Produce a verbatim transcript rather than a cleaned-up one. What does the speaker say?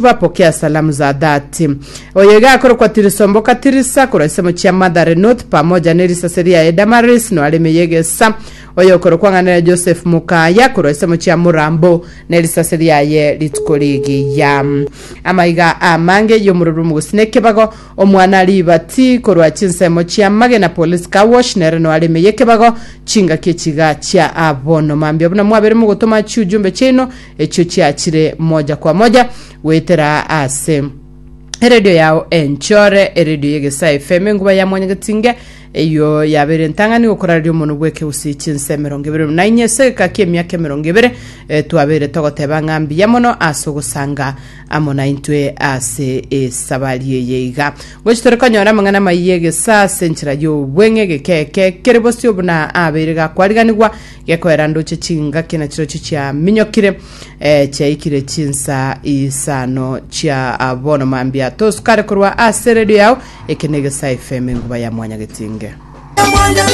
Pokea salamu za dhati. Oyo iga akorokwa Tirisomboka Tirisa korwa ensemo chia Mathare North pamoja ne risase riaye Damaris no areme yegesa. Oyo okorokwa ng'a nere Joseph Mukaya korwa ensemo chia Murambo ne risase riaye rituko rigiya. Amaiga amange y'omororo omogosi na ekebago omwana ribati korwa chinsemo chia Magena Police Car Wash nere no areme yekebago chingaki echiga chia abono mambia buna mwabere mogotoma chiujumbe chiaino echio chiachire moja kwa moja goetera ase eredio yao enchore, eredio y'Egesae F M, enguba ya Mwanyagetinge, eyo yabere entang'ani gokorareria omonwe bw'ekegusii chinse emerongo ebere na inye ase egeka ki'emiaka emerongo ebere. eh, twabere togoteba ng'a mbuya mono ase ogosanga amo naintwe ase esabari eye iga gochi tore konyora amang'ana amaiya y'egesa ase enchera y'obweng'e egekeke kere bosio buna abeire gakwariganigwa gekoera ndoche chingaki na chirochio chiaminyokire, eh, chiaikire chinsa isano chia ah, bono mambia. Tosukare korwa ase redio yao. Eke ne Egesa F M, enguba ya Mwanyagetinge.